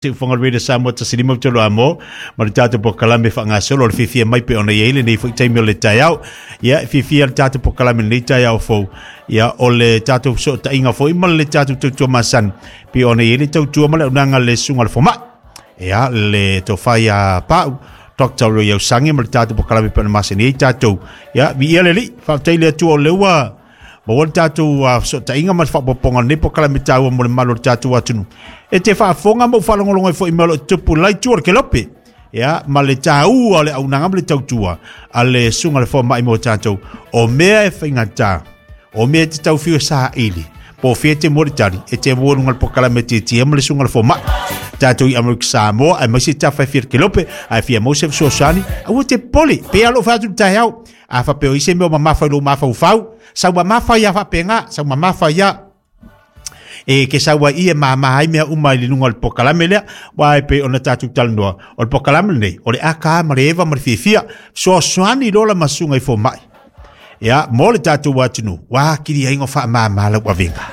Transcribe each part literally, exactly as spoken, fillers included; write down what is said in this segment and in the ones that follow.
Siufoga o le Radio Samoa tasi lima tolu amo ma le tatou polokalame faagasolo o le fiafia mai pe ona i ai lenei foi taimi o le taeao. Ia, e fiafia le tatou polokalame lenei taeao fou. Ia, o le tatou fesootaiga foi ma le tatou tautua masani pe ona i ai le tautua ma le auaunaga a le susuga i le fomai. Ia, le tofa ia Pau Doctor Roy Ausangi ma le tatou polokalame pe ona masani ai tatou. Ia, viia le Alii, faafetai le Atua o lea ua maua le tatou fesootaiga ma le faaopoopoga o lenei polokalame taua mo le mamalu o le tatou atunuu. E te faafofoga ma ou faalogologo ai foi i mea o lo o tupu i le itu o le kelope. Ia, ma le taua o le auaunaga ma le tautua a le susuga i le fomai mo tatou. O mea e faigata, o mea e te tau fiu e saili, po o fea e te mua le tali, e te mua i luga o le polokalame tietie ma le susuga i le fomai. Tatou i Amerika Samoa, aemaise tafa e fia le kelope, ae fia maua se fesoasoani, aua te popole, pei lava lou fai atu i le taeao. A faapea o i se mea o mamafa i lou mafaufau, sau mamafa ia faapena, sau mamafa ia. E ke sau ai i e mama ai mea uma i le luga o le polokalame lea, aua e pei ona tatou talanoa, o le polokalame lenei, o le aka ma le eva ma le fiafia, fesoasoani loa la ma susuga i fomai. Ia, mo le tatou atunuu, ua atili ai ona faamama lau avega,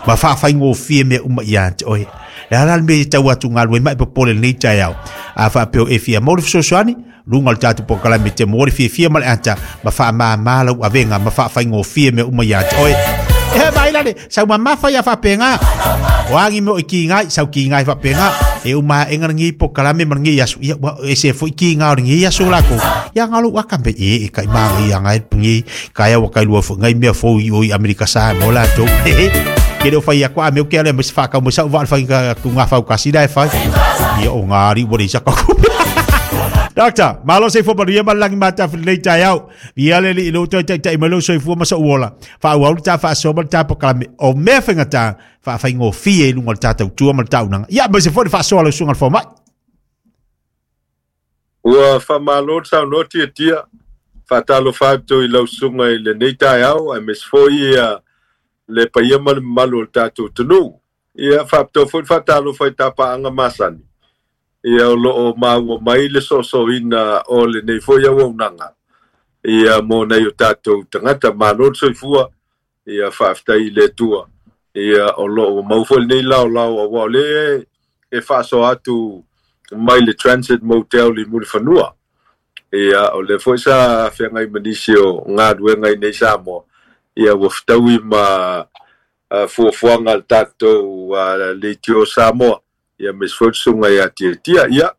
ma faafaigofie mea uma ia te oe. Le a la le mea e tau atu galue mai popole lenei taeao. A faapea o e fia maua le fesoasoani, luga o le tatou polokalame te maua le fiafia ma le ata, ma faamama lau avega, ma faafaigofie mea uma ia te oe. E mai lale, sau mamafa ia faapena. O a ni mea o i kigai, sau kigai faapena. E uma aega lenei polokalame ma lenei aso, ia ua ese foi kiga o lenei aso lakou. Ia nga lou aka me e e kai maga ia ngai pungi, kai au kai lua fo ngai mea fou i o i Amerika Samoa latou. Ke leo fai aku a mea ke ale me se whakau me sau wale whai ka ku ngā whau kasi la e whai. Ia o ngā ari ua reisa ka ku. Doctor, malo se fua manuia ma le lagi matafi lenei taeao. Ia le alii i lou toe taitai mai lou soifua ma sou ola. Faaauau le ta faasoa ma le ta polokalame o mea faigata faafaigofie i luga o le ta tautua ma le ta auaunaga. Ia aemaise foi le faasoa a lau susuga i le fomai. Ua faamalo le saunoa tiatia. Faatalofa atu i lau susuga i lenei taeao aemaise foi ia le paia ma le mamalu o le tatou atunuu. Ia faapitoa foi le faatalofa i tapaaga masani. Ia o loo maua mai le soosooina o lenei foi auaunaga. Ia mo nai o tatou tagata malo le soifua. Ia faafetai i le Atua. Ia o loo ua maua foi lenei laolao aua o lea e faasoa atu mai le Transit Motel i Mulifanua. Ia o lea foi sa feagai ma nisi o galuega i nei Samoa. Ia ua fetaui ma fuafuaga a le tatou leitio Samoa. Ia aemaise foi le susuga ia Tiatia. Ia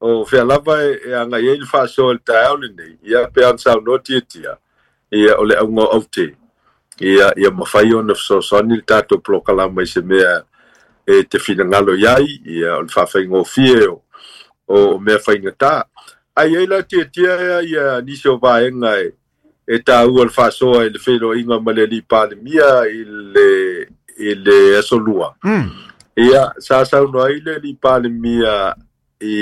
o fea lava e agai ai le faasoa i le taeao lenei. Ia pe ona saunoa Tiatia. Ia o le auga o aute. Ia ia mafai ona fesoasoani le tatou polokalame i se mea e te finagalo i ai. Ia o le faafaigofie o o mea faigata. Ai ai la Tiatia ia nisi o vaega e e taua le faasoa i le feiloaiga ma le alii Palemia i le i le aso lua. Mm. Ia sa saunoa ai le alii Palemia i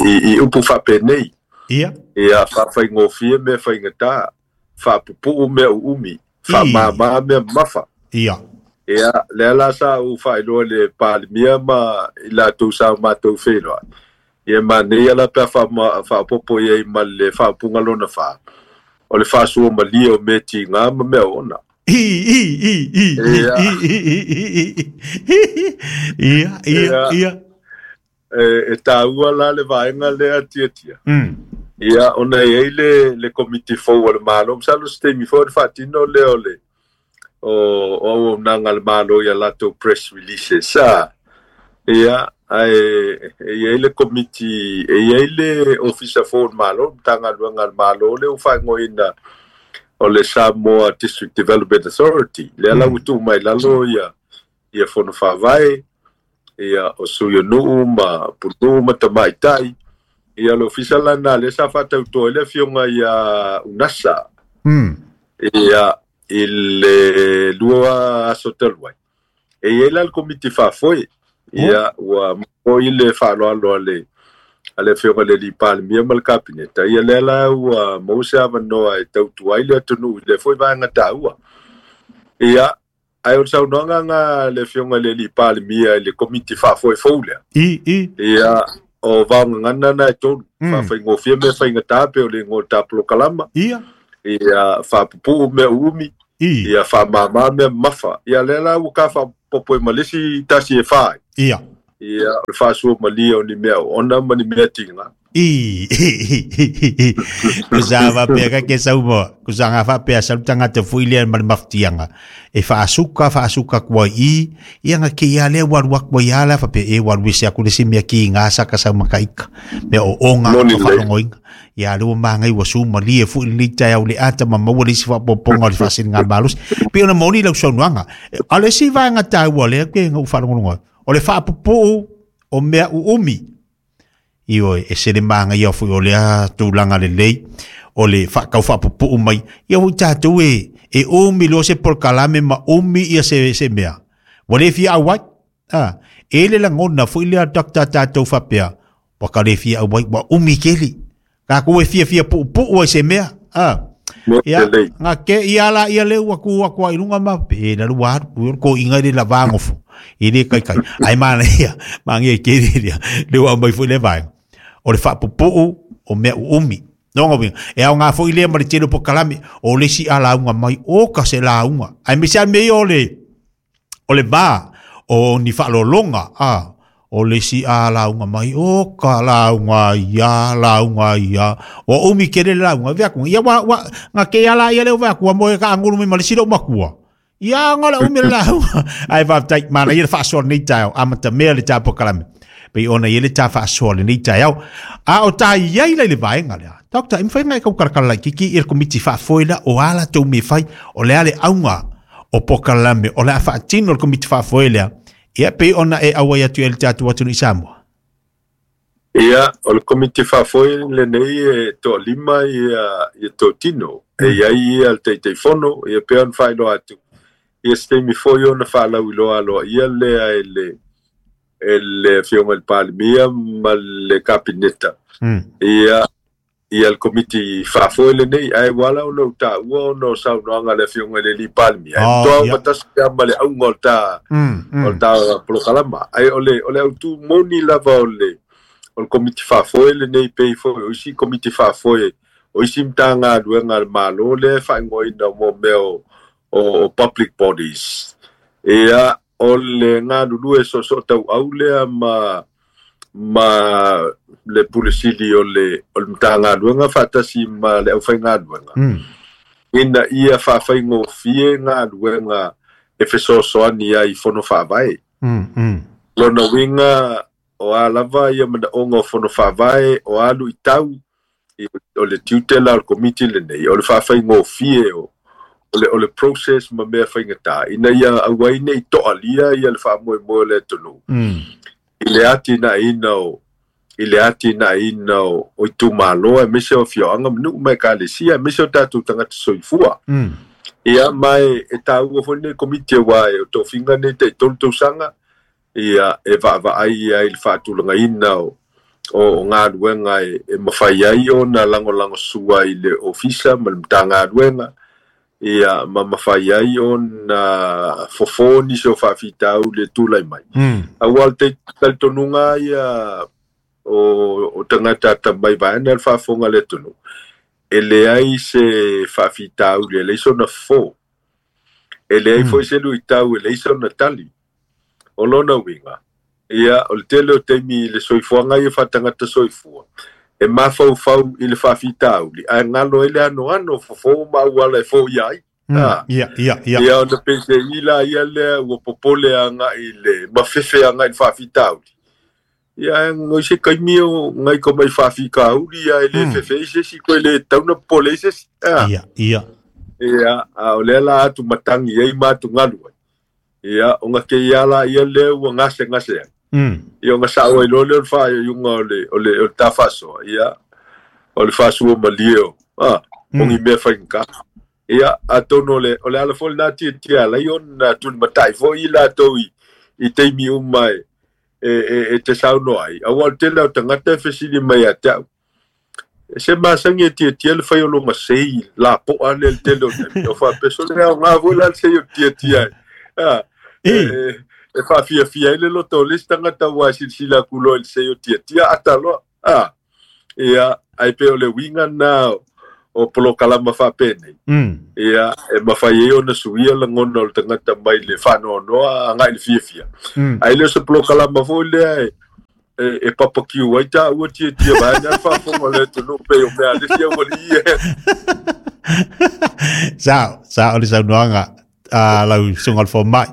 i, i upu faapenei. Ia. Ia faafaigofie mea faigata, faapupuu mea uumi, faamama mea mamafa. Ia. Ia lea la sa ou faailoa i le Palemia ma i latou sa matou feiloai. Ia manaia la pe a faaopoopo i ai ma le faaupuga lona fa. O le faasua malie o mea tiga ma mea ona. I, i, i, i, i, i, i, i, i, ia, ia, ia. E, e taua la le vaega lea Tiatia. Mm. Ia, ona e i ai le, le komiti fou a le Malo. Masalo se taimi foi ona faatino lea o le o, o auaunaga a le Malo ia latou press releases. A, ia, ae e i ai le komiti, e i ai le ofisa fou o le Malo, le Matagaluega a le Malo lea ua faaigoaina o le Samoa District Development Authority. Lea la ua tuu mai lalo ia, ia fono faavae, ia o sui o nuu ma punuu ma tamaitai. Ia le ofisa lana lea sa faatautoa ai le afioga ia Unasa. Mm. Ia i le lua aso talu ai. E i ai la le komiti faafoe. Ia ua maua le faaaloalo a le a le afioga i le alii Palemia ma le Kapeneta. Ia lea la ua maua se avanoa e tautua ai le atunuu i lea foi vaega taua. Ia, ae o le saunoaga nga le afioga i le alii Palemia i le komiti faafoe fou lea. I, i. Ia, o vaogagana na e tolu. Mm. Faafaigofie mea faigata pe o le igoa o le ta polokalama. Ia. Ia, faapupuu mea uumi. I. Ia, faamama mea mamafa. Ia, lea la ua ka faapopo i ma le isi tasi e fa ai. Ia. Ia o le faasua malia o ni mea ona ma ni mea tiga. I kusa faapea ka ke saumoa kusa ga faapea salu tagata foʻi lea ma le mafutiaga e faasuka faasuka aku ai i ia ga keia lea ua alu aku ai a la faapea e ua alu ese aku le isi mea kiga sa ka saumakaika mea ooga Moni ma lelei. Faalogoina ia lea ua magai ua sumalie foʻi lenei taeao le ata ma maua le isi faaopoopoga o le faasiliga malosi pei ona moni lau saunoaga. A o le isi vaega taua lea ke ga ou faalogologo ai o le faapupuu o mea uumi ioe e se le magaia foʻi o lea tulaga lelei o le faakau faapupuu mai ia ui tatou e e umi loa se polokalame ma umi ia se se mea ua lē fia auai a e le lagona foʻi lea doctor tatou faapea ua ka lē fia auai ua umi keli takou e fiafia puupuu ai se mea a Moni ia lelei. Ga ke ia la ia le ua ku aku ai lunga ma pe la lua alu ko inga le lavagofo i le kai kai ai mana ia mangi ke le le ua mai foi le vai o le faapupuu o mea uumi nonga winga e au ngā foi lea ma le tele o pokalame o le isi a lauga mai o ka se lauga ai me se me o le o le va o ni faalologa a o le isi a lauga mai o ka lauga ia lauga ia o umi kele le lauga vea ku ia wa wa nga ke ala ia le vea ku mo e ka angulu mai ma le silo makua ia nga la umi le lauga ai va tai mana ia faasoa nei taeao amata mea le tā pokalame pei ona ia le tā faasoa lenei taeao a o tā iai lai le vaega lea doctor e mafai ona e kaukalakala laitiiti i le komiti faafoe lea o a latou mea fai o le a le auga o pokalame o le a faatino le komiti faafoe lea ia pei ona e auai atu ai le tatou atunuu i Samoa. Ia, o le komiti faafoe lenei e toalima ia ia totino. E Mm. iai ia le Taitaifono, ia pei ona faailoa atu. Ia se taimi foi ona faalauiloa aloaia lea e le e le Afioga i le Palemia ma le Kapeneta. Mm. Ia ia le komiti faafoe lenei, ae ua ala ona ou taua ona o saunoaga a le Afioga i le alii Palemia. E Oh, matoa ia. matasi pea ma le auga o le tā Mm, o le mm. tā polokalama. Ae o le o le autū moni lava o le o le komiti faafoe lenei pei foi o isi komiti faafoe o isi matagaluega a le Malo lea e faaigoaina mo mea o, o, o public bodies. Ia o le galulue soosoo tauau lea ma ma le pulesili o le o le matagaluega faatasi ma le aufaigaluega. Mm. Ina ia faafaigofie galuega e fesoasoani ai i fono faavae. Mm, mm. Lona uiga o a lava ia manaoga o fono faavae o alu i tau i- o le tiute la o le komiti lenei o le faafaigofie o o le o le process ma mea faigata ina ia auai nei toalia ia le faamoemoe o le atunuu Mm. i le atinaeina o i le atinaeina o o itumalo aemaise o afioaga ma nuu ma ekalesia aemaise o tatou tagata soifua. Mm. Ia ma e e taua foi lenei komiti auā e o tofiga nei taʻitolu tausaga ia e vaavaai ai i le faatulagaina o o o galuega e, e mafai ai ona lagolagosua i le ofisa ma le matagaluega ia ma mafai ai ona fofo nisi o faafitauli e tulai mai. Mm. Auā o le tai- talitonuga ia o o tagata atamai vaena le faafofoga le atunuu e leai se faafitauli e leai sona fofo e leai Mm. foi se luitau e leai sona tali o lona uiga ia o le tele o taimi i le soifuaga ia faatagata soifua e mafaufau i le faafitauli ae galo ai le anoano fofo ma auala e foia ai. Mm. Ah. Ia, ia, ia. Ia ona pese'i la ia lea ua popole agaʻi le mafefe agaʻi le faafitauli ia ae goi se kaimi o gai ka mai faafikauli ia e lē Mm. fefe ai se isi koe lē tauna popole ai se isi ah. Ia, ia. Ia a o lea la atu matagi ai ma atugalu ai ia ona keia la ia lea ua gasegase ai Mm. ia ona saʻo ai loa lea o le faaiuiuga o le o le o le tafaasoa ia o le faasua malie o ah, o Mm. ni mea faigata ia atonu o le o le ala foi lenā tiatia alai ona tulimataʻi foi i latou i i taimi uma e e e, e te saunoa ai auā o le tele o tagata e fesili mai ia te au e se masagi e tiatia le fai o loga sei lapoa lea le tele o taimi o faapeso le aogā foi la le sei o tiatia ai ah, e, E. e, e faafiafia ai le loto o le isi tagata ua e silasila aku loa i le sei o tiatia ata loa ah, ia ai pei o le uiga na o o polokalama faapenei. Mm. Ia e mafai ai ona suia lagona o le tagata mai le faanoanoa agai le fiafia. Mm. Ae le o se polokalama foi lea e e, e papakiu ai taua tiatia vaeane a le faafofoga o le atunuu pei o mea a le isi aualii e. Sao, sao le saunoaga a lau susuga o le fomai.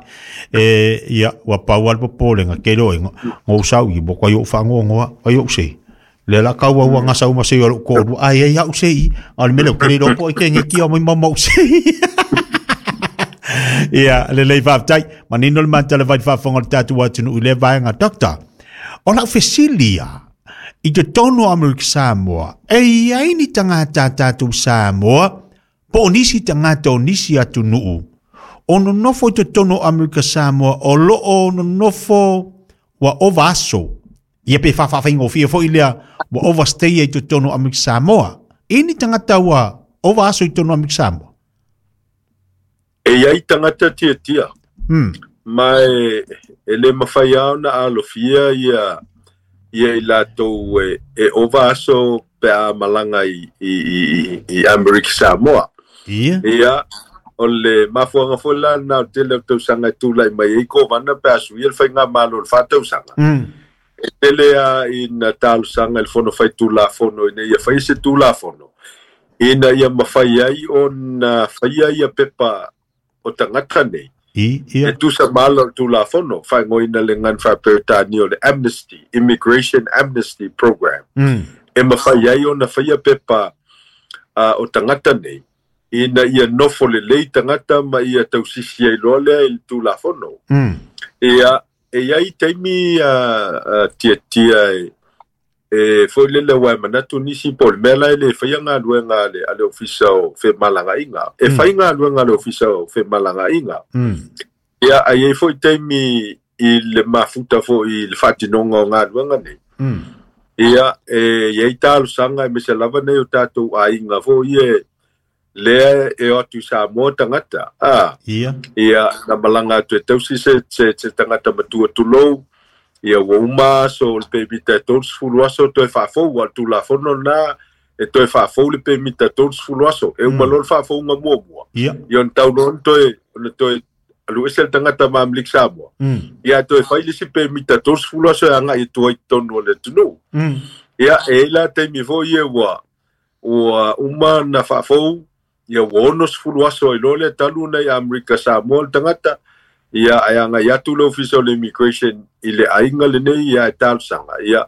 E ia ua pau a le popolega ke loe ngou sau i mo kai ou fagogoa ai ou sei. Le la kau au nga sau ma sei o ko lu ai ai au sei a le mele ke le po ke nge ki o mai mau sei. Ia le lei faafetai manino le mata le vai faafofoga o le tatou atunuu i le vaega doctor. O lau fesilia i totonu o Amerika Samoa, e iai ni tagata a tatou Samoa po o nisi tagata o nisi atunuu o nonofo i totonu o Amerika Samoa o loo nonofo ua ova aso. Ia pe faafaafaiga foi lea ua overstay i totonu o Amerika Samoa. E ni tagata ua ova aso i totonu o Amerika Samoa? E iai tagata tiatia. Mm. Ma e, e le mafai a ona alofia ia ia i latou e, e ova aso pe a malaga i, i, i, i Amerika Samoa. Ia. Ia, o le mafuaga foi la lena o le tele o tausaga e tulai mai ai kovana pe a suia le faigamalo o le faatausaga. Mm. E tele a ina talosaga i le fono faitulafono ina ia faia se tulafono ina ia mafai ai ona faia ia pepa o tagata nei. I, ia. E tusa ma ala o le tulafono faaigoaina le gagana faaperetania o le Amnesty, Immigration Amnesty Program. Mm. E mafai ai ona faia pepa uh, o tagata nei ina ia nofo lelei tagata ma ia tausisi ai loa lea i le tulafono. Mm. Ia, e iai taimi uh, uh, tiatia e, e foi lele ua e manatu nisi po o le mea la e le faia galuega a le, a le ofisa o femalagaaiga. E Mm. fai galuega a le ofisa o femalagaaiga. Mm. Ia, ai ai foi taimi i le mafuta foi i le faatinoga o galuega nei. Mm. Ia, e iai talosaga e mese lava nei o tatou aiga foi e lea e o atu i Samoa tagata. Ah, Ia. ia, na malaga atu e tausi se, se, se tagata matua tulou, ia ua uma aso o le pemita e tolusefulu aso toe faafou, a le tulafono lena e toe faafou le pemita tolusefulu aso, e uma Mm. loa le faafouga muamua. Ia. Ia ona tau loa ona toe, ona toe alu ese le tagata ma Amerika Samoa. Mm. Ia toe fai le isi pemita tolusefulu aso e agai atu ai i totonu o le atunuu. Mm. Ia, e i la taimi foi ia ua, ua uma na faafou, ia ua onosefulu aso ai loa lea talu ona i Amerika Samoa le tagata, ia ae agai atu le ofisa o le immigration i le aiga lenei ia e talosaga. Ia,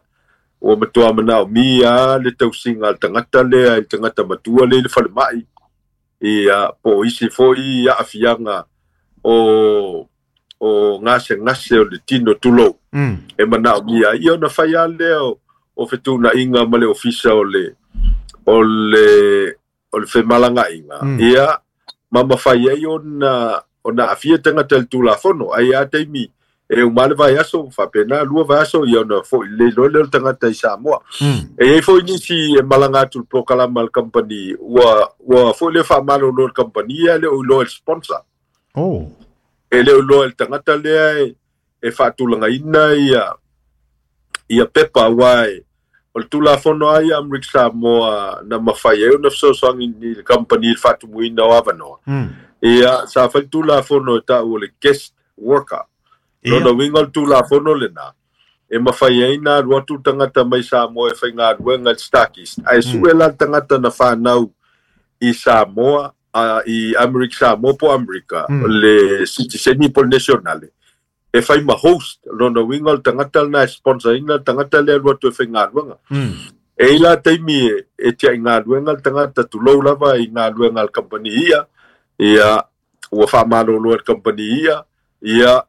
ua matua manaomia a le tausiga a le tagata lea i le tagata matua lea i le falemai. Ia, po o isi foi aafiaga o o gasegase o le tino tulou. Mm. E manaomia ai. Ia ona fai lava lea o, o fetuunaiga ma le ofisa o le o le o le femalagaaiga. Mm. Ia, ma mafai ai ona ona aafia tagata i le tulafono. Ai a taimi e uma le vaiaso, faapena lua vaiaso, ia ona foi lelei loa lea o le tagata i Samoa. Mm. E iai foi nisi e malaga atu i le polokalama a le company, ua, ua foi le faamalolo le company ia le o iloa i le sponsor. Oh. E le o iloa i le tagata lea e, e faatulagaina ia, ia pepa aua e o le tulafono a ia Amerika Samoa na mafai ai ona fesoasoani i le company i le faatumuina o avanoa. Mm. Ia, sa fai le tulafono e taua o le guest worker. Ia. Lona uiga o le tulafono lena, e mafai ai na alu atu le tagata mai Samoa e faigaluega i le Starkist. Ae sue la le tagata na fanau i Samoa, uh, i Amerika Samoa po Amerika, Mm. le citizen po le nationale. E fai ma host, lona uiga o le tagata lena e sponsorina le tagata lea e alu atu e faigaluega. Mm. E i la taimi e, e tiai galuega le tagata tulou lava i galuega a le company ia, ia ua faamalolo e le company ia, ia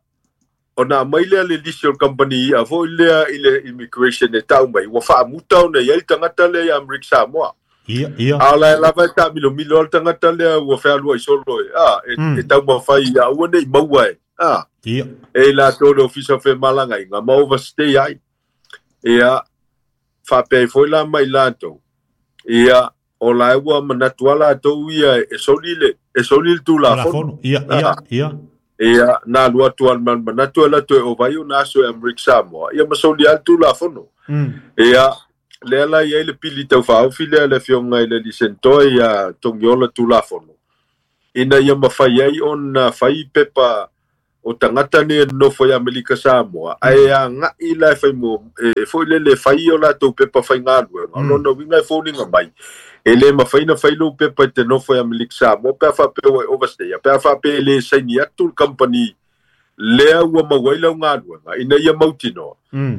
ona aumai lea le lisi o le company ia foi lea i le immigration e tau mai, ua faamuta ona i ai le tagata lea i Amerika Samoa. Ia, ia. A o la e lava e taamilomilo a le tagata lea ua fealuai solo e, a, e, Mm. e taumafai ia aua nei maua e, a, Ia. e i latou le ofisa o femalagaaiga ma overstay ai. Ia, faapea ai foi la mai latou. Ia, o la e ua manatu a latou ia e soli le, e soli le tulafono. Tulafono. Ia, ia, ia. Ia, na alu atu a le manatu e latou e ova ai ona aso e Amerika Samoa. Ia ma soli a le tulafono. Mm. Ia, Lea la i ai le pili taufaofi lea le afioga i le Lisentoa ia Togiola Tulafono ina ia mafai ai ona fai pepa o tagata nei e nonofo i Amerika Samoa ae aga'i la e fai mo e foi lele fai o latou pepa faigaluega. O lona uiga e foliga mai e lē mafai na fai lou pepa i te nofo i Amerika Samoa pe a faapea ua e overstay pe a faapea e lē saini atu le kamupani lea ua maua ai lau galuega ina ia mautinoa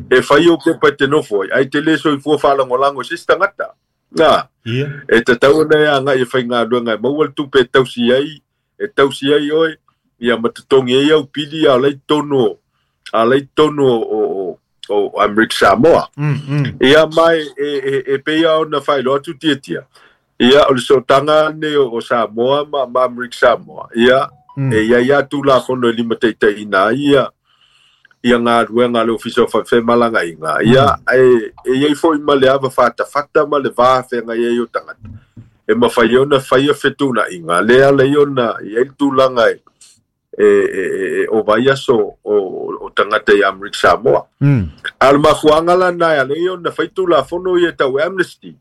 e fai ou pepa i te nofo ai ae te lē soifua faalagolago i se isi tagata. Na e tatau ona e aga'i e faigaluega e maua le tupe e tausi ai e tausi ai oe ia ma totogi ai au pili a o la i totonu a la i totonu o o Amerika Samoa. Ia mai e e e pei ona faailoa atu Tiatia. Ia o le sootaga nei o Samoa ma ma Amerika Samoa. Ia e ia ia Tulafono e limataitaiina ai ia ia galuega a le Ofisa o Femalagaaiga. Ia e e iai foi ma le ava fatafata ma le va feagai ai o tagata e mafai ona faia fetuunaiga lea ala ai ona i ai le tulaga e e e o vai aso o o tagata i Amerika Samoa. A o le mafuaaga lana e ala ai ona fai Tulafono ia tau amnesty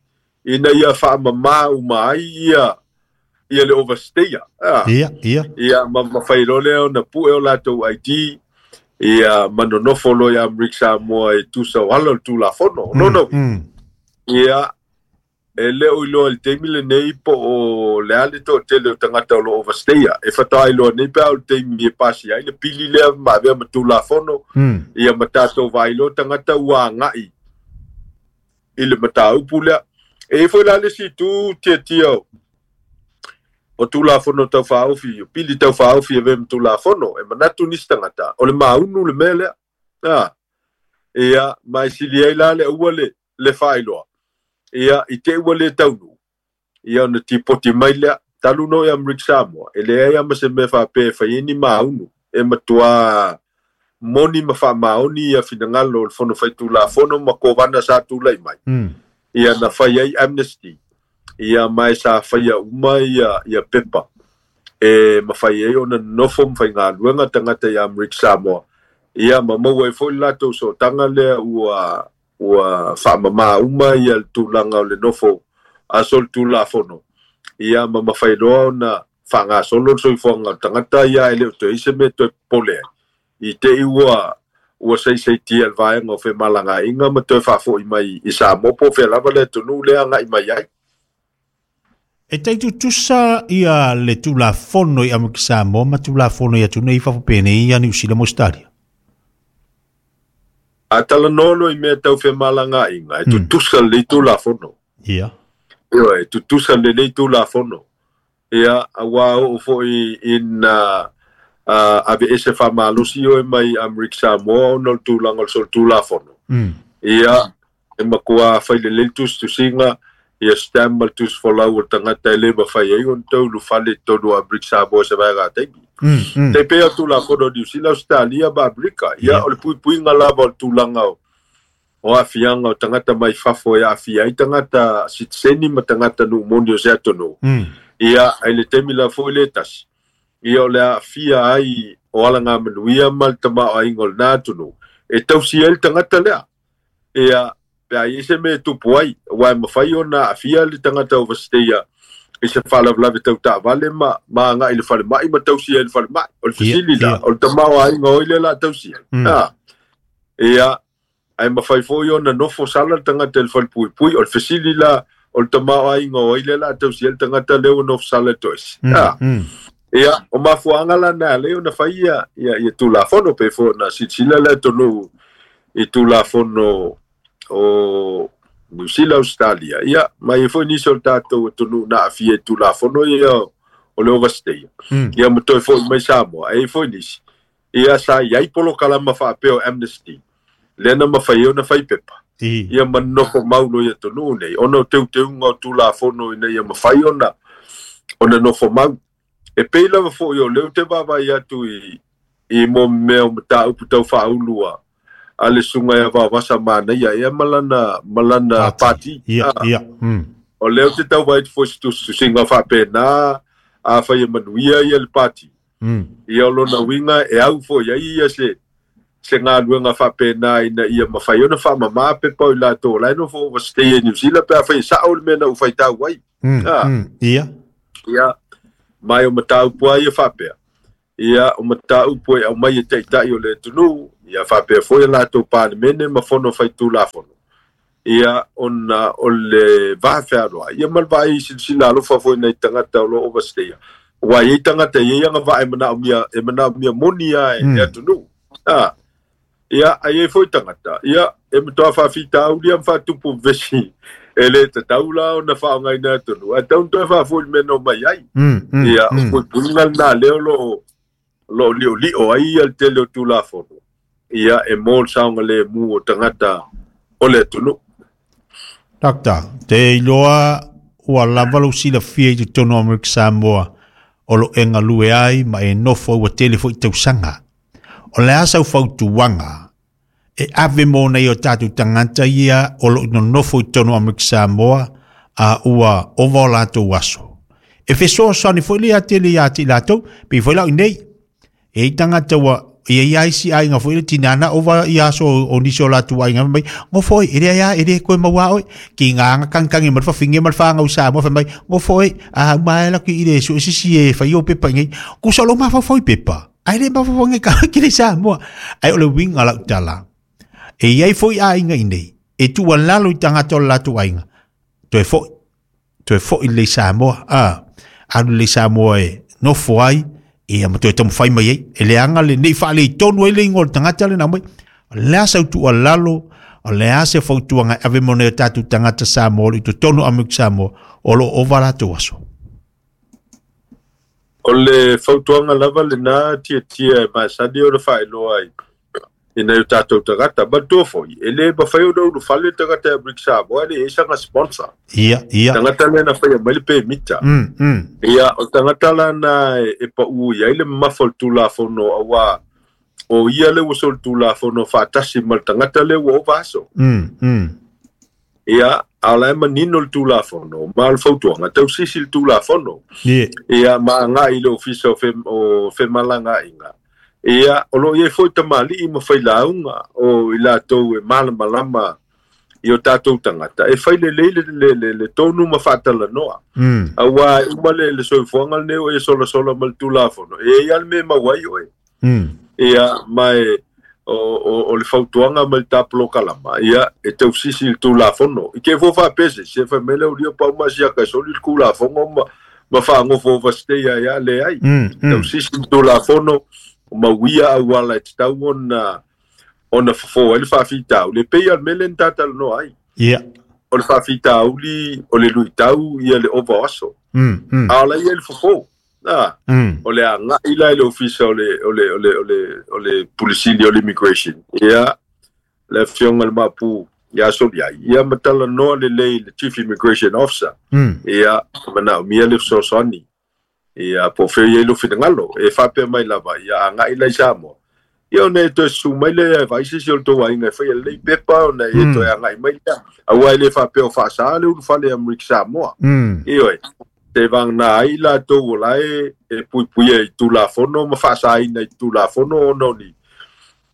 ina ia faamamā uma ai ia ia le overstayer. Ia, ia. Ia ma mafai loa lea ona pue o latou I D ia ma nonofo loa i Amerika Samoa e tusa o ala o le Tulafono. Lona uiga ia e le o iloa i le taimi lenei po o le a le toatele o tagata o lo o overstayer. E faatoa iloa nei pe a o le taimi e pasi ai le pili lea ma avea ma Tulafono ia ma tatou vaailoa tagata ua aga'i i le mataupu lea. E i foi la le isi itu Tiatia o Tulafono taufaofi, o pili taufaofi e avea ma Tulafono, e manatu nisi tagata o le maunu le mea lea. A ia ma e sili ai la le aua le le faailoa. Ia i te ua le taunuu ia ona tipoti mai lea talu no i Amerika Samoa e leai lava ma se mea faapea e fai ai ni maunu e matuā moni ma faamaoni ia finagalo o le Fono Faitulafono ma kovana sa tulai mai. Ia na fai ai amnesty ia ma e sa faia uma ia ia pepa e mafai ai ona nonofo ma faigaluega tagata i Amerika Samoa ia ma maua ai foi le latou sootaga lea ua ua faamamā uma ia le tulaga o le nofo aso le Tulafono ia ma mafai loa ona faagasolo le soifuaga o le tagata ia e le o toe ai se mea toe popole ai i te i ua ua saisaitia le vaega o femalagaaiga ma toe faafo'i mai i Samoa po o fea lava le atunuu lea aga'i mai ai. E tai tutusa ia le Tulafono i Amerika Samoa ma Tulafono i atunuu i fafo penei ia Niu Sila ma Australia. A talanoa loa i mea tau femalagaaiga e tutusa lelei Tulafono. Ia. Ioe, e tutusa lelei Tulafono. Ia, auā oo foi ina aveese faamalosi oe mai Amerika Samoa ona o le tulaga o le solitulafono. Ia, e matuā fai lelei le tusitusiga ia stamp ma le tusifolau o le tagata e lē mafai ai ona toe ulufale i totonu o Amerika Samoa i se vaega taimi. Tai pei o Tulafono o Niu Sila, Australia ma Amerika. Ia, o le puipuiga lava o le tulaga o o aafiaga o tagata mai fafo e aafia ai tagata sitiseni ma tagata nuu moni o se atunuu. Ia, ai le taimi la foi le tasi ia o le aafia ai o alagamanuia ma le tamaoaiga o lenā atunuu e tausi ai le tagata lea. Ia pe a i ai se mea e tupu ai auā e mafai ona aafia le tagata overstayer i se faalavelave tau taavale ma ma aga'i i le falemai ma tausi ai i le falemai. O le fesili la o le tamaoaiga o ai lea o le a tausi ai. A ia ae mafai foi ona nofo sala le tagata i le falepuipui. O le fesili la o le tamaoaiga o ai lea o le a tausi ai le tagata lea ua nofo sala i toesi. A ia o mafuaaga lana e ala ai ona fai ia ia ia Tulafono pe foi ona silasila le atunuu i Tulafono o Niu Sila, Australia. Ia ma e i ai foi nisi o le tatou atunuu na aafia i Tulafono ia o le overstay. Ia ma toe fo'i mai Samoa. E i ai foi nisi ia sa i ai polokalama faapea o amnesty lea na mafai ai ona fai pepa ia ma nonofo mau loa i atunuu nei ona o teuteuga o Tulafono ina ia mafai ona ona nofo mau. E pei lava foi o lea ou te vaavaai atu i i mo mea o mataupu tau faaulu a a le susuga ia Vaovasa Manaia ea ma lana ma lana pati. Ia, ia. O lea ou te tau vaai atu foi i se tusitusiga faapena afai e manuia ia le pati. Ia o lona uiga e au foi ai ia se Se galuega faapena ina ia mafai ona faamamā pepa o i latou o lae nofo overstay e New Zealand pe afai e sa'o le mea na ou faitau ai. Ia ia mai o mataupu a ia faapea ia o mataupu e aumai e ta'ita'i o le atunuu ia faapea foi a latou palemene ma fono faitulafono ia ona o le vafealoai ia ma le vaai silasila alofa foi nai tagata o loo overstay ua iai tagata e iai agavaa e manaomia e manaomia moni a e atunuu a ia ai foi tagata ia e matoa faafitauli ma faatupu vesi e lē tatau la ona faaaogaina atunuu ae tau toe faafoi le mea na omai ai ia o puipuiga lenā lea o loo loo li'oli'o ai ia le tele o tulafono ia e mo le saogalemu o tagata o le atunuu. Doctor, te iloa ua lava lou silafia i totonu o Amerika Samoa o lo e galue ai ma e nofo ua tele foi tausaga. O le a sau fautuaga e ave mo nei o tatou tagata ia o lo nonofo i totonu o Amerika Samoa a ua ova o latou aso. E fesoasoani foi lea tele ia te i latou, pei foi lau nei. E i tagata ua ia ia isi aiga foi le tinana ova ia aso o nisi o latou aiga mai ngofo e le ia e le koe maua oi ki ngā kankangi ma whafinge ma whanga Samoa fa mai ngofo e a mai la ki ile su sisi e fai o pepa ngai ku solo ma fa foi pepa ai le ma fa ngai ka ki le Samoa ai o le winga la tala e ia foi aiga nei e tu lalo i tangata o latou aiga toe foi toe foi le Samoa a alu le Samoa e nofo ai ia ma toe taumafai mai ai e leaga lenei faaletonu ai le igoa o le tagata lena mai o le a sau tuualalo o le a se fautuaga e ave mo nei o tatou tagata Samoa i totonu o Amerika Samoa o loo ova latou aso. O le fautuaga lava lenā tiatia e masani ona faailoa ai i nai o tatou tagata manatua foi e lē mafai ona ulufale le tagata e Amerika Samoa e le ai saga sponsor ia ia tagata lea na faia mai le pemita ia o tagata lana e pa'u i ai le mamafa o le tulafono auā o ia le ua solitulafono faatasi ma le tagata lea ua ova aso ia a o la e manino le tulafono ma o le fautuaga tausisi le tulafono ia ma aga'i i le ofisa o femalaga'iga ia o loo iai foi tamali'i ma failauga o i latou e malamalama i o tatou tagata e fai lelei le, le, le, le tonu ma faatalanoa auā e uma le, le soifuaga lenei o e solasola ma le tulafono e ai a le mea mau ai oe ia ma e o, o, o le fautuaga ma le tapolokalama ia e tausisi i le tulafono i ke fua faapese se fai mai le ulia pauma siaka e soli le tulafono ma, ma faagofo overstay ai a leai tausisi i le tulafono mauia auala e tatau ona ona fofo ai le faafitauli e pei a le mea lea na tatalanoa ai ia o le faafitauli o le luitau ia le ova o aso a o la ia le fofo a o le aga'i la i le ofisa o le o le o le o le o le pulisili o le immigration ia le afioga le mapu ia Soliai ia ma talanoa lelei le chief immigration officer ia manaomia le fesoasoani ia po fea iai lo finagalo e faapea mai lava ia aga'i la i Samoa ia ona e toe susu mai lea e vaai se isi o le tou aiga e faia lelei pepa ona e toe aga'i mai lea auā e lē faapea o faasā le ulufale Amerika Samoa ioe te vagana ai latou o la e e puipuia i tulafono ma faasaina i tulafono ona o ni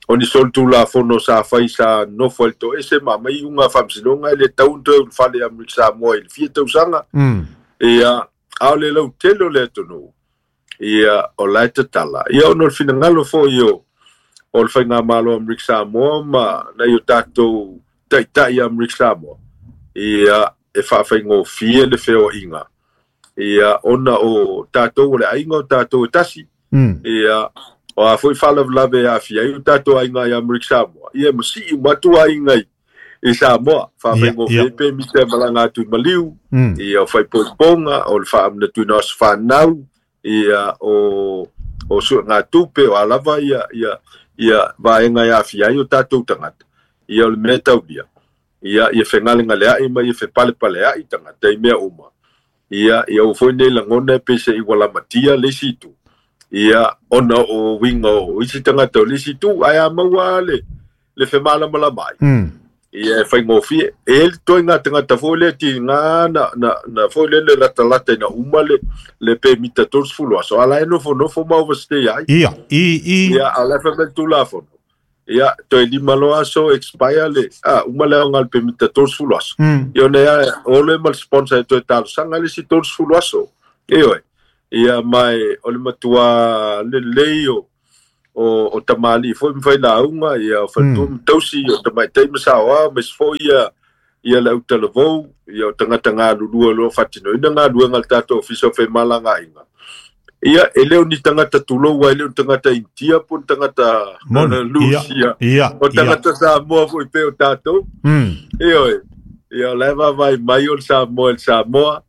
o ni solitulafono sa fai sa nofo ai le toese ma aumai iuga faamasinoga e lē tau ona toe ulufale Amerika Samoa i le fia tausaga ia a o le lautele o le atunuu ia o la e tatala ia ona o le finagalo foi o o le faigamalo Amerika Samoa ma nai o tatou ta'ita'i Amerika Samoa ia e faafaigofie le feoa'iga ia ona o tatou o le aiga o tatou e tasi ia o a foi faalavelave e aafia ai o tatou aiga i Amerika Samoa ia e masi'i uma atu aiga i i Samoa faafaigofie pe mita e malaga atu i maliu ia o faaipoipoga o le faamanatuina o aso fanau ia o o suegatupe o a lava ia ia ia vaega e aafia ai o tatou tagata ia o le mea taulia ia ia fegalegalea'i ma ia fepalepalea'i tagata i mea uma ia ia ua foi nei lagona e pei se'i ua lamatia le isi itu ia ona o uiga o isi tagata o le isi itu ae a maua le le femalamalama ai ia e faigofie e le toaiga tagata foi lea tigā na na na foi lele latalata ina uma le le pemita tolusefulu aso a la e nofonofo ma overstay ai ia i i ia a o la e fai mai le tulafono Ia toe lima loa aso expire le a uma le aoga o le pemita tolusefulu aso. Ia ona ia o le ma le sponsor e toe talosaga le isi tolusefulu aso. Ioe. Ia mai o le matua lelei o o o tamalii foi ma failauga ia o faletua ma tausi o tamaitai ma saoao ma isi foi ia ia le autalavou ia o tagata galulue o loo faatinoina galuega a le tatou ofisa o femalagaaiga. Ia e le o ni tagata tulou ai e le o ni tagata Initia po o ni tagata Lusia o tagata Samoa foi pei o tatou. Ioe. Ia o la e vaavaai mai o le Samoa i le Samoa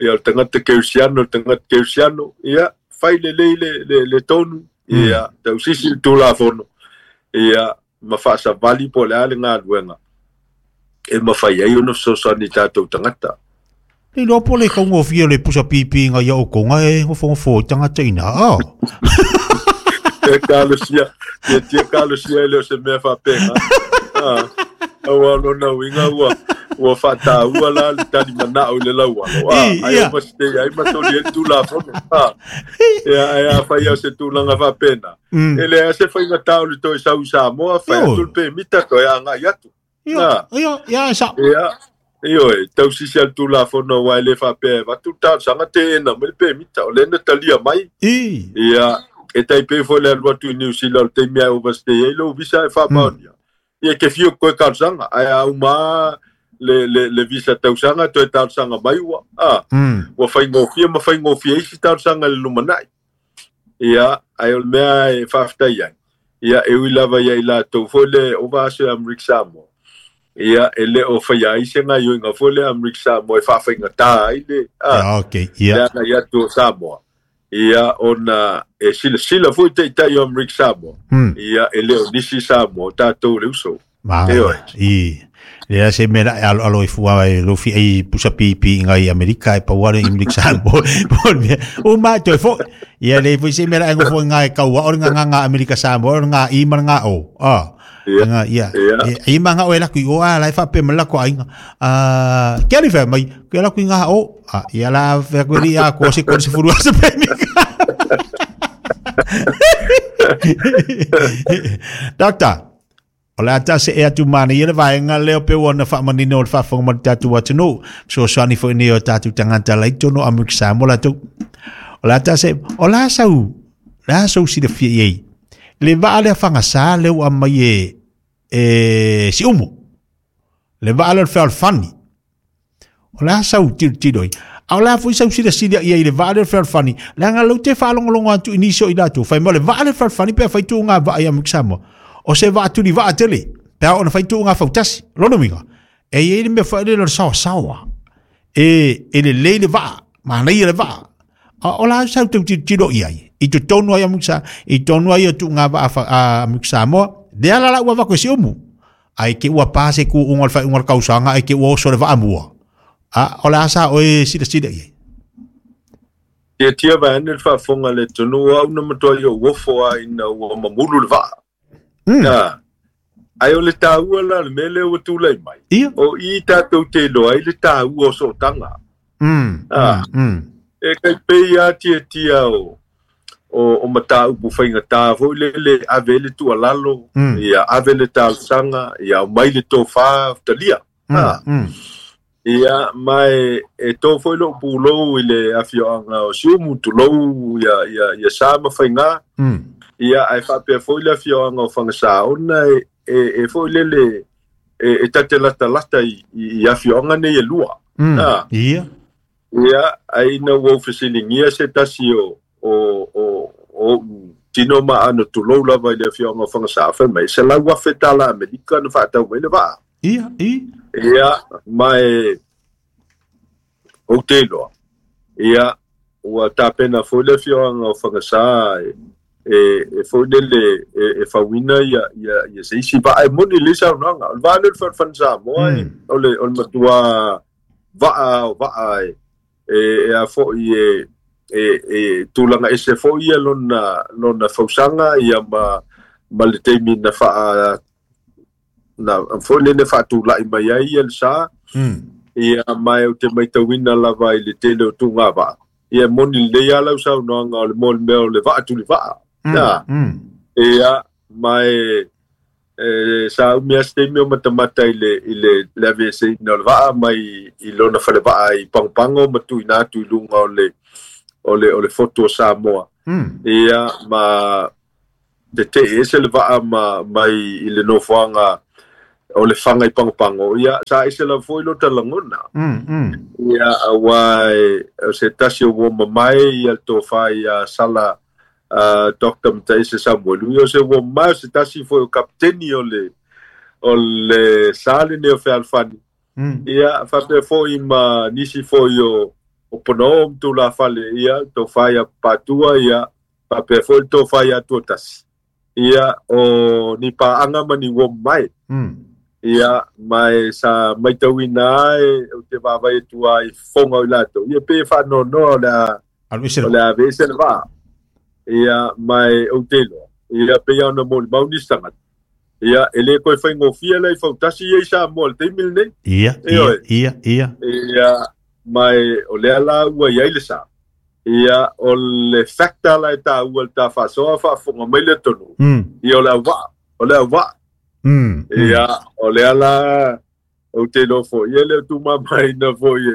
ia o le tagata Keusiano o le tagata Keusiano ia fai lelei le le le tonu ia tausisi le Tulafono ia ma faasavali po o le a le galuega e mafai ai ona fesoasoani i tatou tagata. Le iloa po o le taugofie o le pusa pipiga ia outou e gofogofo i tagata ina a. E kalosia, tia tia kalosia e le o se mea faapena. Ah, aua o lona uiga ua ua faataua la le talimanao i le laualo. Ah, ai o masitei ai masoli ai le Tulafono. Ah, ia ai afai o se tulaga faapena. E leai se faigatā o le toe sau i Samoa, fai atu le pemita toe agai atu. Ia, ia, ia, sa. Ia, ioe, tausisi a le Tulafono aua e le faapea e avatu le talosaga teena mai le pemita, o lea na talia mai. Ia, e tai pei foi le alu atu i New Zealand o le taimi ae overstay ai lou visa e faamaonia. Ia ke fia koe talosaga, ae a uma le, le, le visa tausaga toe talosaga mai ua. Ah, ua faigofie ma faigofie isi talosaga i le lumanai. Ia, ae o le mea e faafetai ai. Ia, e ui lava ia i latou foi le ova aso e Amerika Samoa. Ia, e le o faia ai se gaioiga foi le Amerika Samoa e faafaigatā ai le a, okay, ia. Le agai atu o Samoa. Ia, ona e silasila foi taitai o Amerika Samoa. Ia, e le o nisi Samoa, o tatou le uso. Ioe. I. Lea se mea e alo alo i fua e lofi ai pusa pipi ngai Amerika e pau ale i Amerika Samoa. O mai toe fo. Ia le foi se mea e ngofo ngai kaua o ngā ngā Amerika Samoa o ngā i ma ngā o. Ah. Nga ia. E ma nga o la kui o a la fa pe mala ko ainga. Ah, ke ali fa mai ke la kui nga o. Ah, ia la fa ko ri a ko se ko se furu se pe mi. Doctor, o le ata se e atu mana ia le vaenga leo pe ua na faamanino o le faafofoga ma le tatou atunuu fesoasoani foi nei o tatou tagata lai totonu o Amerika Samoa latou. O le ata se o le a sau le a sau silafia i ai le vaa lea fagasā lea ua aumai e e Siumu le vaa lea o le fealofani. O le a sau tilotilo ai a o le a foi sau silasila i ai le vaa lea o le fealofani leaga lou te faalogologo atu i nisi o i latou fai mai o le vaa lea o le fealofani pe afai tuuga vaa i Amerika Samoa o se vaa tuli vaa tele pe a ona fai tuuga fautasi lona uiga e iai le mea foi lele o le saoasaoa e e lelei le vaa manaia le vaa a o la sau tau tilotilo i ai i totonu ai Amerika i totonu ai o tuuga vaa a Amerika Samoa lea la la ua avako e Siumu ai ke ua pa se kuuga o le faaiuga o le kausaga ai ke ua oso le vaa mua a o le a sa oe silasila i ai. Tia tia vaeane le faafofoga le atunuu au na matuai ou ofo a ina ua mamulu le vaa. Ah, ai o le taua la le mea lea ua tulai mai. O i tatou te iloa ai le taua o sootaga. Ah, e kai pei a tia tia o o o mataupu faigatā foi lele ave le tuualalo, ia ave le talosaga, ia aumai le tofā talia. Ah, ia mai e tō foi lou pulou i le afioaga o Siumu tulou ia ia ia sa ma faigā. Ia ae faapea foi le afioaga o Fagasā ona e e e foi lele e e tate latalata i i afioaga nei e lua. Ah, ia. Ia ai ina ua ou fesiligia se tasi o o o o tino ma ano tulou lava i le afioaga o Fagasā fai mai se lau afe tala Amerika na faatau mai le vaa. Ia, i. Ia, mai ou te iloa. Ia, ua tapena foi le afioaga o Fagasā e e e foi lele e e fauina ia ia ia se isi vaa e moni le saunoaga. O le vaa lea o le fealofani Samoa e o le o le matua vaa o vaa e e e a foi e e e tulaga ese foi ia lona lona fausaga ia ma ma le taimi na faa na foi lele faatulai mai ai ia le sa. Ia mai ou te maitauina lava i le tele o tuuga vaa. Ia moni lelei lava lau saunoaga o le mo le mea o le vaa tuli vaa. Ia, ia mai E sa umi a se taimi o matamata i le i le le aveeseina o le vaa mai i lona falevaa i Pagopago ma tuuina atu i luga o le o le o le fotu o Samoa. Mm. Ia ma tetee ese le vaa ma mai i le nofoaga o le faga i Pagopago. Ia sa ese lava foi lo talagona. Mm. Mm. Ia auā e o se tasi o ua mamae ia le tofā ia Sala uh, Doctor Mataese Samuelu. Ia o se ua mamae o se tasi foi o kapiteni o le o le sa lenei o fealofani. Mm. Ia faapea foi ma nisi foi o o ponoo ma tulafale ia tofā ia Patua ia faapea foi le tofā ia Tuatasi. Ia o ni paaga ma ni ua mamae. Mm. Ia mae sa maitauina ai o te vaavaai atu ai fofoga o i latou. Ia pe faanoanoa o le a Alu ese o le le a aveese le vaa. Ia mae ou te iloa. Ia pei ona molimau nisi tagata. Ia e lē koe faigofia lai fautasi ia i Samoa i le taimi lenei. Ia, E ia, oe. ia, ia. Ia mae o lea la ua iai le sa. Ia o le factor la e tāua le tā faasoa faafofoga mai le atunuu. Mm. Ia o le auvaa, o le auvaa. Mm. Mm. Ia o lea la ou te iloa foi ia le tumamaina foi e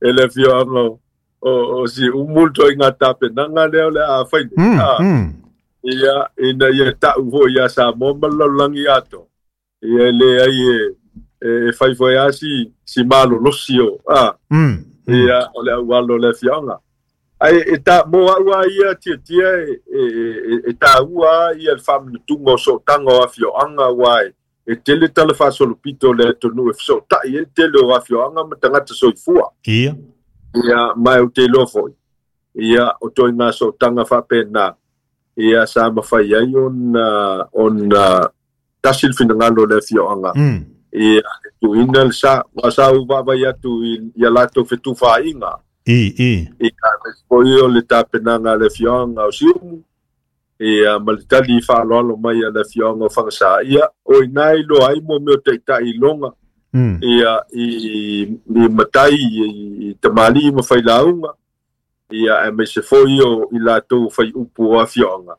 e le afioaga o o o Siumu le toaiga tapenaga lea o le a fai nei. Mm. A Mm. ia ina ia ta'u foi iā Samoa ma le lalolagi atoa. Ia e leai e e fai foi a si si malolosi o a Mm. Mm. ia o le aualo o le afioaga. Ae e ta mo a'u a ia tiatia e e e e tāua ia le faamanatuga o sootaga o afioaga auā e e tele tala faasolopito o le atunuu e fesoota'i ai le tele o afioaga ma tagata soifua. Ia. Ia mae ou te iloa foi. Ia o toaiga sootaga faapena. Ia sa mafai ai ona ona tasi le finagalo o le afioaga. Mm. Ia e tuuina le sa ua sa ou vaavai atu i ia latou fetufaaiga. I, i. Ia aemaise foi o le tapenaga a le afioaga o Siumu. Ia ma le tali faaaloalo mai a le afioaga o Fagasā. Ia o ina e iloa ai mo mea o taita'i iloga. Mm. Ia i i matai i, i tamalii ma failauga. Ia aemaise foi o i latou faiupu o afioaga.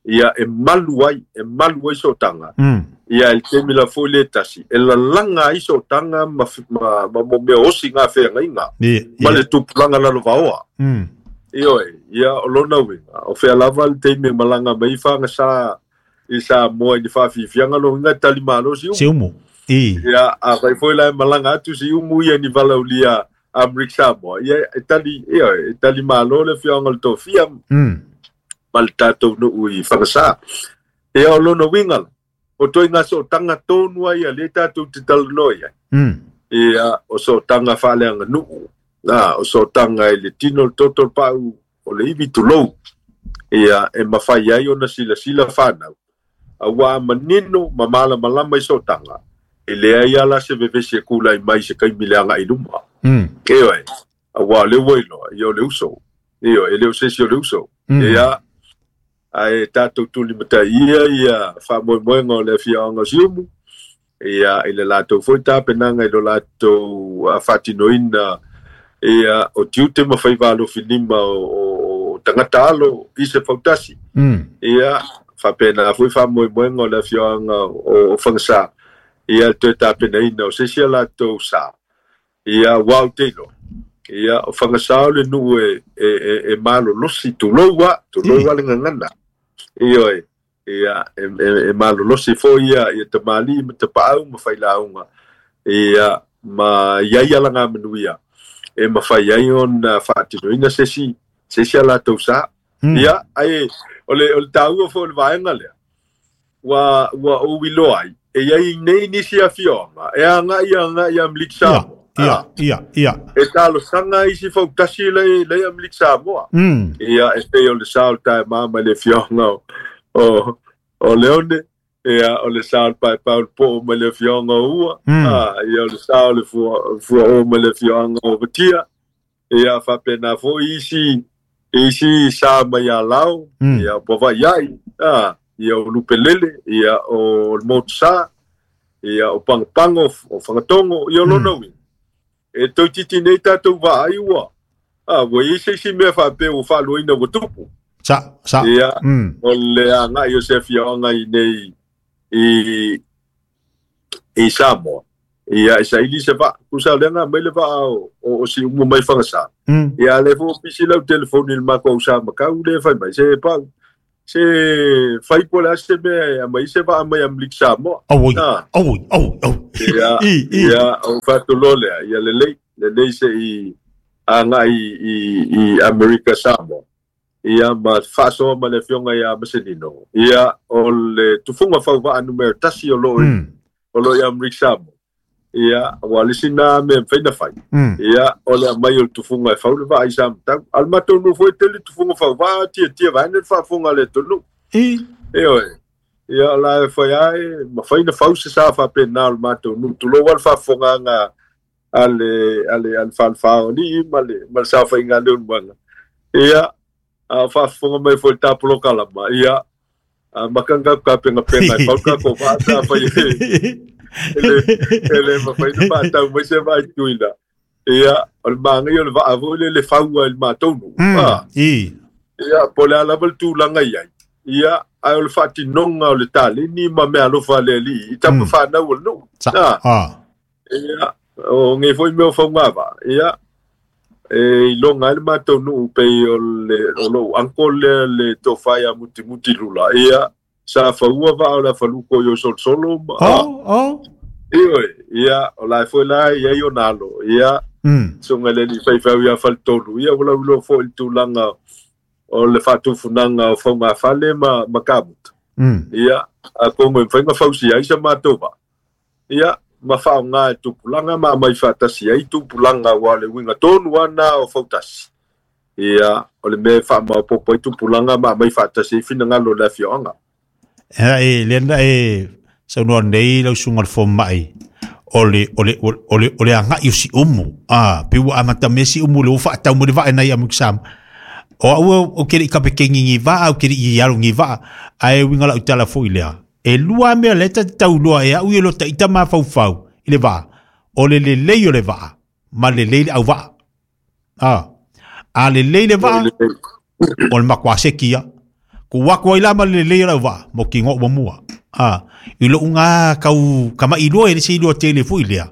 Ia e malu ai, e malu ai sootaga. Mm. Ia i le taimi la foi le tasi, e lalaga ai sootaga ma ma ma mo mea osi gafeagaiga. Ia, Ma ia. le tupulaga lalovaoa. Mm. Ioe, ia o lona uiga, o fea lava le taimi e malaga mai fagasā i Samoa i le faafiafiaga logiga e talimalo Siumu. Siumu. I. Ia afai foi la e malaga atu Siumu ia ni valaulia Amerika Samoa. Ia e tali, ioe, e talimalo le afioaga o le tofia Mm. ma le tatou nuu i Fagasā. Ia o lona uiga la, o toaiga sootaga tonu ai ia lea tatou te talanoa i ai. Mm. Ia o sootaga faaleaganuu. Na, o sootaga i le tino le toto le pa'u o le ivi tulou. Ia e mafai ai ona silasila fanau. Auā manino ma malamalama i sootaga. E leai a la se vevesi e kula'i mai se kaimi le aga'i luma. Mm. Ioe, auā o le ua iloa, ia o le uso. Ioe, e le o se isi o le uso. Mm. Ia, ae tatou tulimatai ia ia faamoemoega o le afioaga o Siumu. Ia i le latou foi tapenaga i lo latou faatinoina ia o tiute ma faiva alofilima o, o, o tagata alo i se fautasi. Mm. Ia faapena foi faamoemoega o le afioaga o, o Fagasā. Ia le toe tapenaina o se isi a latou sa. Ia ua ou te iloa. Ia o Fagasā o le nuu e, e, e, e malolosi tulou a, tulou a le gagana. Ioe, ia e, e, e malolosi foi ia, ia tamalii ma tapaau ma failauga. Ia ma iai alagamanuia. E mafai ai ona faatinoina se isi, se isi a latou sa. Mm. Ia, ae o le, o le tāua foi o le vaega lea. Ua, ua ou iloa ai, e iai nei nisi afioaga, e aga'i aga'i Amerika Ia, Samoa. ia, Ah, ia, ia. e talosaga isi fautasi lai, lai Amerika Samoa. Mm. Ia, e pei o le sa o le taemā mai le afioaga o, o, o Leone. Ia, o le sa o le paepao le po'o mai le afioaga o Ua. Mm. Ah, ia, o le sa o le fua, fuaō mai le afioaga o Vatia. Ia, faapena foi isi, isi sa mai Alao. Mm. Ia, o Pavaiai. Ah, ia, o Lupelele. Ia, o le Motusā. Ia, o Pagopago, o Fagatogo. Ia, o lona uiga. E toititi nei tatou vaai ua. Ah, ua iai se isi mea faapea ua faaloaina ua tupu. Sa, sa. Ia, Mm. o le aga'i o se afioaga i nei i i Samoa. Ia e saili se vaa, kusa lenga mai le vaa o, o, o si umu mai whangasa. Mm. Ia le fo pisi lau telefoni le mako au sa makau le fai mai se pau. Se fai po le ase me a mai se vaa mai Amerika Samoa. Oi, Ah. oi, oi, oi. Ia, I, i. ia, o whātolo lea, ia le lei, le lei se i a ngai i, i Amerika Samoa. Ia ma whaasoa ma le fionga ia Masenino. Ia o le tufunga whauvaa numero tasi o lo Mm. o lo i Amerika Samoa. Ia, wa lisi nā me whaina whai. Mm. Ia, o le mai o le tufunga e whaule vaa i Samatau. Al matou nu foi tele tufunga whauvaa, tia tia vaene le whaafunga le tonu. I. E oe. Ia, la e whai ai, ma whaina whau se sa whape nā o le matou nu. Tulo wal whaafunga ngā ale, ale, ale whalwhao ni, ma le, ma le sa whainga le unwanga. Ia, a whaafunga mai foi tāpolo kalama. Ia, a makanga ka penga penga, pauka ko wha sa whai e. Ele, ele ma whaina whaatau mai se vai tuina. Ia, o le maangai o le vaa le le whaua i le mātaunu. Mm. Ah. I. Ia, po le ala wal tūlanga iai. Ia, ai o le whaatinonga o le tāle, ni ma mea alofa le li, i tapa Mm. whānau o le nuu. Sa. Ah. Ah. Ia, o nge foi mea o whaungava. Ia, e i longa ai le mātou nuu pei o le, o lou anko le, le tōwhai a muti muti lula. Ia, sa whaua vaa o le whaluko i o solosolo. ma- Ah, Oh, oh. Ioi, ia, o la foi la ia i o nalo. Ia, Mm. songa le li whaiwhau ia whalitolu. Ia, wala ulo fo i tūlanga o le whātufunanga o whaunga whale ma, ma kamuta. Mm. Ia, a kongo e whainga whausi ai sa mātou. Ia, ma whaonga e tupulanga, ma mai whatasi ai tupulanga wa le winga tonu ana o whautasi. Ia, o le me wha maopopo ai tupulanga ma mai whatasi ai whina ngalo le whioanga. E, le na e saunoa nei lau suga le fomaʻi o le o le o le o le agaʻi o siʻumu a pe ua amatamea siʻumu le ua faatau mo le vae nai Amerika Samoa o aʻu o ke leʻi kapekegigi va'a o ke leʻi alogi va'a ae uiga laʻu tala foʻi lea e lua mea le tatatauloa e aʻu i lo taʻita mafaufau i le va'a o le lelei o le va'a ma lelei le auva'a a a lelei le va'a o le makuaseki ia ku wako ai la ma le lelei o lau va'a mo ki ngō mua a i lou ngā kau kamaʻi lua e le se ilua tele foʻi lea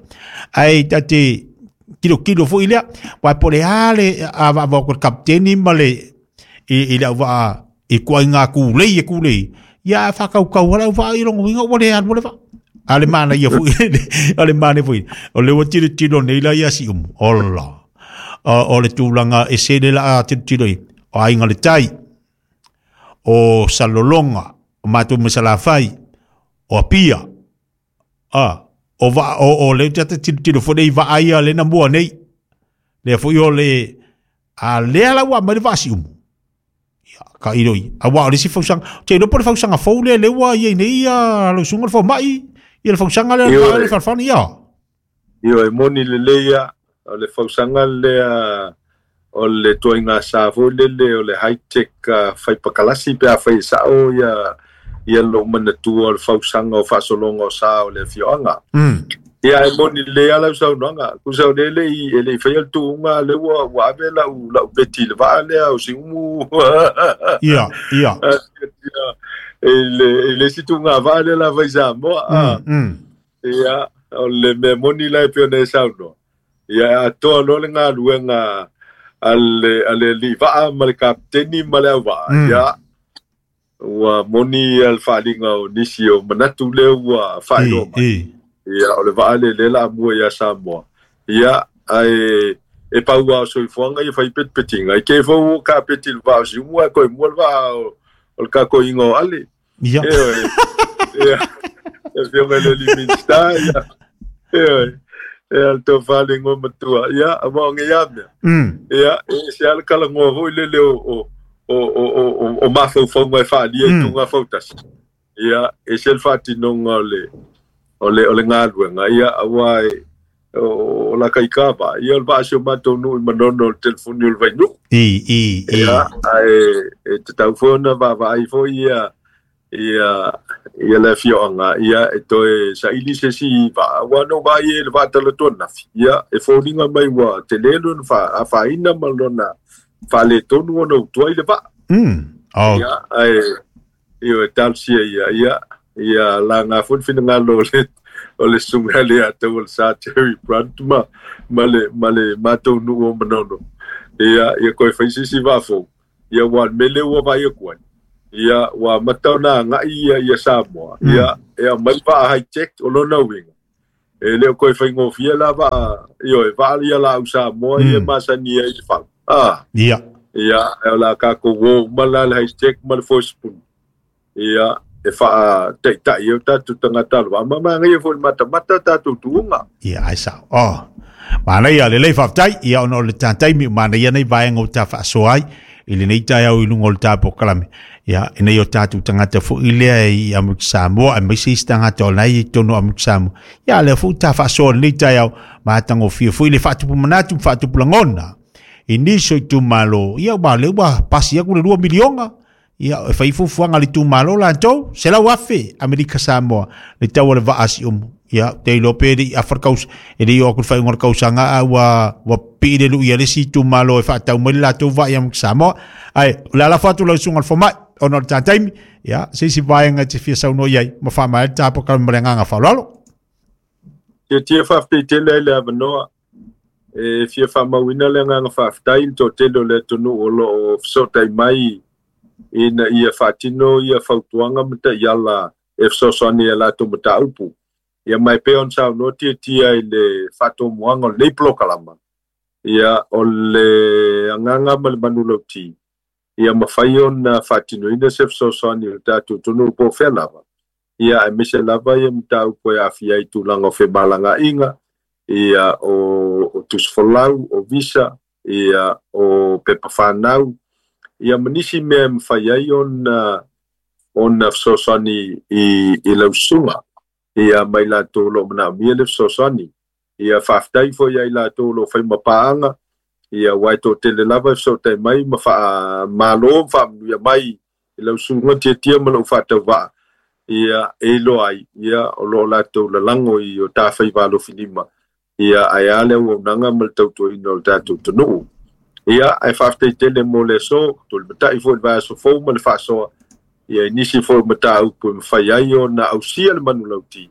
ae tate kilokilo foʻi lea uae po le a le avaʻavao ko le kapiteni ma le i, i le auva'a i kuaiga kulei e kulei ia faakaukau ala auva'a i logo uiga ua le alu le va'a a le mana ia foʻi a le mana foʻi o le ua tilotilo nei la ia siʻumu ola o, o le tulaga e sele laʻa tilotilo i o aiga le tai o Salolonga, o mātou masalafai, o Apia, a, o va, o, o le tata tilotilo fo nei vaa ia le na mua nei, lea foi o le, a lea la ua mai le vaasi umu. Ia, ka iro i. A wā o le si fausanga, te ilopo le fausanga fou lea leua ia nei ia, lo sunga le fau mai, ia le fausanga lea, Ioe. le whalwhani ia. Io e moni le leia, o le fausanga lea, o le tuaiga sa foi lele, o le high-tech uh, whaipakalasi pe a whai sao ia, ia lo manatua o le fausanga o whasolonga o sa o le fioanga. Mm. Ia e moni le ala u saunoaga, kusa o le le i e le i whaia le tuunga le ua, ua ave lau, lau beti le vaa lea o si umu. Ia, ia. E le, e le si tuunga vaa lea la vai Samoa. Ah. Mm, mm. Ia, o le mea moni lai pe o nei saunoa. Ia, a toa loa le galuega a le, a le alii vaa ma le kapiteni ma le auvaa. Mm. Ia, ua moni ia le faaliga o nisi o manatu lea ua faailoa I, mai. i. Ia, o le vaa le le la mua ia Samoa. Ia, ae e paua o soifuaga ia faipetipetinga. I ke fou o kapeti le vaa o siumu ae koe mua le vaa o, o le kakoiga o ale. Ia. E oe. Ia, e fioga le li minista, ia. E oe. E al tō whalengo matua. Ia, a maonge ia mea. Mm. Ia, e se ala kalangoa foi lele o, o, o, o, o, o, o mafaufauga e faalia i Mm. tuga fautasi. Ia, e se le faatinonga o le, o le, o le galuega. Ia, auā e, o, o la kaikava. Ia, o le vaasi o matou nuu i manono o le telefoni o le vainuu. I, i, i. Ia, ae e tatau foi ona vaavaai foi ia ia ia le afioaga ia e toe saili se isi vaa ua no vaai e le vaatalatua nafi ia e foliga mai ua tele lona fa afaina ma lona faaletonu ona utuai le vaa Mm. Oh, ia ae io e talosia ia ia ia laga foi le finagalo o le o le suga le atau o le sa Terry Brunt ma ma le ma le matou nuu o Manono. Ia ia koe fai sisi vaafou ia ua mele ua vai aku ai ia ua matau na agai ia ia Samoa ia e aumai vaa high tech o lona uiga e le o koe faigofie la vaa ioe vaa ia laau Samoa ia masani ai i le fau a ia ia e o la tatou uo uma la le high tech ma le four spoon ia e faataita'i ai o tatou tagata alo ma magaia foi le matamata tatou tuuga. Ia ai sao oh manaia lelei faafetai ia ona o le tataimi manaia nei vaega o ta faasoa ai i lenei taeao i luga o le tapokalame ia ina ia o tatou tagata fo'i lea i Amerika Samoa aemaise isi tagata o la e i totonu o Amerika Samoa ia lea foi ta faasoa lenei taeao matagofie foi le faatupu manatu ma faatupu lagona i nisi o itumalo ia ua lea ua pasi aku le lua miliona ia e fai fuafuaga a le itumalo latou selau afe Amerika Samoa le tau o le vaa siumu ia te iloa pe le i afa le kaus e le i oo atu le faaiuga o le kausaga a ua ua pii le lui a le isi itumalo e faatau mai le latou vaa ia Samoa ae o le alafo atu lau susuga i le fomai ona o le tataimi ia se isi vaega e te fia saunoa i ai ma faamaea le tapokalame ma le agaga faaaloalo. Tiatia faafetai tele ai le avanoa e fia faamauina le agaga faafetai i le toatele o le atunuu o loo fesootai mai ina ia faatino ia fautuaga ma taiala e fesoasoani i a latou mataupu. Ia mai pea ona saunoa tiatia i le faatomuaga o lenei polokalama ia o le agaga ma le manulauti ia mafai ona faatinoina se fesoasoani o le tatou atunuu po o fea lava ia aemaise lava ia mataupu e aafia ai tulaga o femalagaaiga ia o, o tusifolau o visa ia o pepa fanau ia ma nisi mea e mafai ai ona ona fesoasoani i, i lau susuga ia mai latou o loo manaomia le fesoasoani. Ia faafetai foi ia i latou o loo faimapaaga ia ua e toatele lava e fesootai mai ma faamalo ma faamanuia mai i lau susuga tiatia ma lou faatauvaa ia e iloa ai ia o loo latou lalago i o tafaiva alofilima ia ae a le auaunaga ma le tautuaina o le tatou atunuu. Ia ae faafetai tele mo le aso tulimatai foi i le vaiaso fou ma le faasoa ia i nisi foi o mataupu e mafai ai ona ausia le manulauti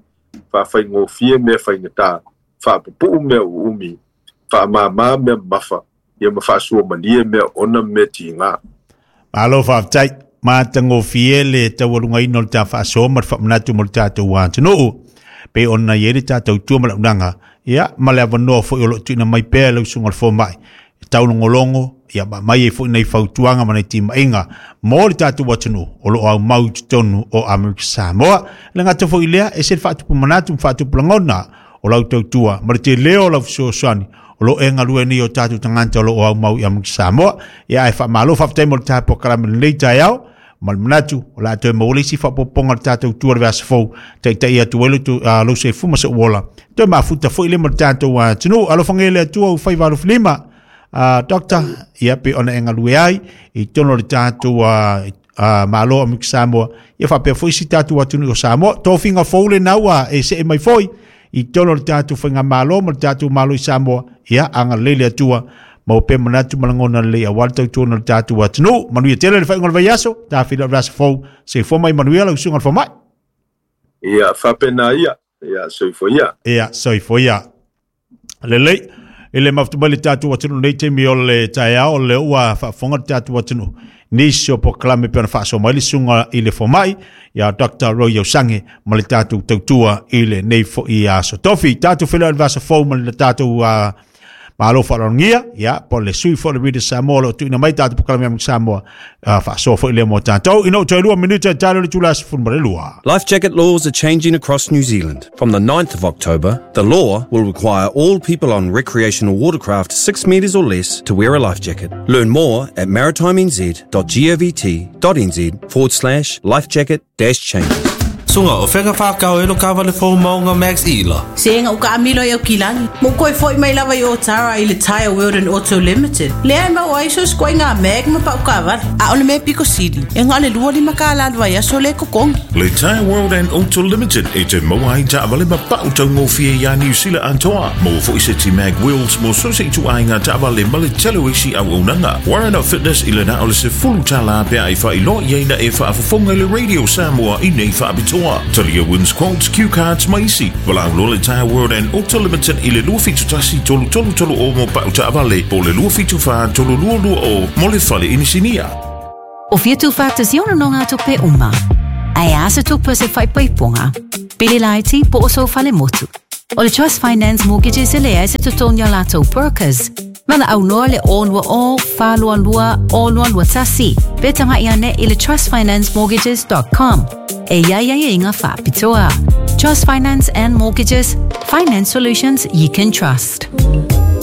faafaigofie mea faigata faapupuu mea uumi faamāmā mea mamafa ia ma faasuamalie mea ona ma mea tigā. Malo faafetai matagofie le taualugaina o le ta faasoa ma le faamanatu mo le tatou atunuu pe ona i ai le tatou tua ma launaga ia ma le avanoa foi o loo tuuina mai pea lau susuga i le fomai e taulogologo ia ma mai ai foi nei fautuaga ma nei timaiga mo le tatou atunuu o loo aumau i totonu o Amerika Samoa. Le gata foi lea e se le faatupu manatu ma faatupu lagona o lau tautua ma le tele o lau fesoasoani o loo e galue nei o tatou tagata o loo aumau i Amerika Samoa ia ae faamalo faafetai mo le tapokalame lenei taeao ma le manatu o le a toe maua le isi faaopoopoga o le tatou tua le vaiaso fou taitai atu ai lou soifua ma sou ola toe mafuta foi le ma le tatou atunuu alofagia le Atua ua faiva alofilima uh, doctor ia pe ona e galue ai i totonu o le tatou uh, uh, malo o Amerika Samoa ia faapea foi si tatou atunuu o Samoa tofiga fou lena ua e see mai foi i totonu o le tatou faigamalo ma le tatou malo i Samoa ia agalelei le Atua ma pe manatu ma lagona lelei aua le tautuana o le tatou atunuu manuia tele le faaiuga o le vaiaso tafila o le vaiaso fou soifua mai manuia lau susuga i le fomai. Ia faapena ia ia soifua ia. Ia soifua ia lelei i le mafuta mai le tatou atunuu nei taimi o le taeao o lea ua faafofoga le tatou atunuu nisi o polokalame pe ona faasoa mai le susuga i le fomai ia Doctor Roy Iosange ma le tatou tautua i lenei foi aso tofi tatou feiloai i le vaiaso fou ma le tatou uh, malo faaaloalogia ia po o le sui foi o le Radio Samoa o loo tuuina mai tatou polokalame a Samoa uh, faasoa foi lea mo tatou ina ua toe lua minute e talo le itula sefulu ma le lua. Life jacket laws are changing across New Zealand. From the ninth of October, the law will require all people on recreational watercraft six metres or less to wear a life jacket. Learn more at maritimernz.govt.nz forward slash lifejacket dash changes. Sunga o fega whakao e lo kawale fō maunga Max Ila. Se nga uka amilo i au kilagi. Mo koe foi mai lava i o tara i le Tire World and Auto Limited. Lea e mau ai so skoe ngā mag ma pau kawale. A ole me piko sili. E ngā le lua lima ka la vai aso le kokongi. Le Tire World and Auto Limited e te maua ai taavale ma pau taugofie ia New Zealand atoa. Mo foi se ti mag wheels mo so se itu ai ngā taavale ma le tele o isi auaunaga. Warren Fitness i le na o le sefulu tala pea i whailo i aina e whaafafonga i le Radio Samoa i nei whaapitoa. atoa. Talia wins quotes, cue cards ma isi. Valaau loa le Tyre World and Auto Limited i le lua fitu tasi tolu tolu tolu o mo pau taavale po o le lua fitu fa tolu lua lua o mo le fale inisinia. O fia tū whātasi ono no ngā tupe uma. Ai asa tupe se whaipaiponga. Pili laiti po o so whale motu. O le Trust Finance Mortgages e lea se tutonia lātou brokers. Mana au noa le o lua o, whālua lua, o lua lua tasi. Pe tanga ia ne i le trust finance mortgages dot com. E ia ia ia inga whāpitoa. Trust Finance and Mortgages, finance solutions you can trust.